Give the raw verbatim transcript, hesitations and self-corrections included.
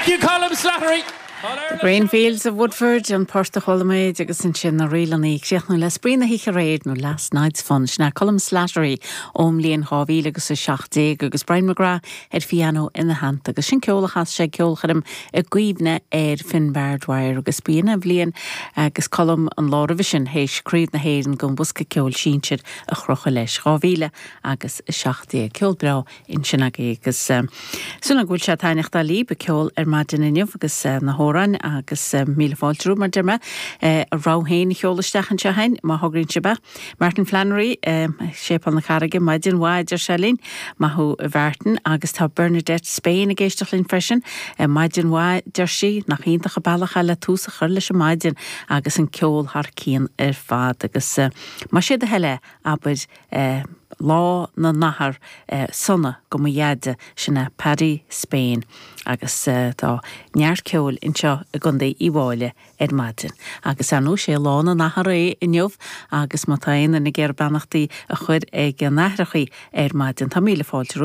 Thank you, Colm Slattery. Greenfields of Woodford an port a chuala muid agus ansin na rílanna críochnú le spraoi na hoíche aréir nó Last Night's Fun sin Colm Slattery ón mbliain dhá mhíle agus a seacht déag agus Brian McGrath ar pianó ina theannta agus sin ceol a chas sé ceolchoirm i gcuimhne ar Finbar Dwyer agus b'in an bhliain agus Colm an lá roimhe sin théis Craobh na hÉireann don bhosca ceoil sinsir a chrochadh leis dhá mhíle agus a seacht déag ceol breá ansin agus súil go bhfuil sé taitneamhach libh an ceol ar maidin inniu agus na hamhráin agus míle fáilte mar deir mé a rogha féin a sheoladh isteach anseo féin má thograíonn sibh. Martin Flannery Séipéal na Carraige maidin mhaith deir sé linn maith thú Martin agus tá Bernadette Spain ag éisteacht linn freisin maidin mhaith deir sí nach iontach an bealach le tús a chur leis an maidin agus an ceol thar cionn ar fad agus más é do thoil é abair lá na n-athar sona go mo dheaide sin é Paddy Spain agus tá neart ceoil anseo i gContae Uíbh Fhailí ar maidin. Agus ar ndóigh sé lá na n-athar é inniu agus má tá aon duine ag iarraidh beannachtaí a chur ag na haithreacha ar maidin Tá míle fáilte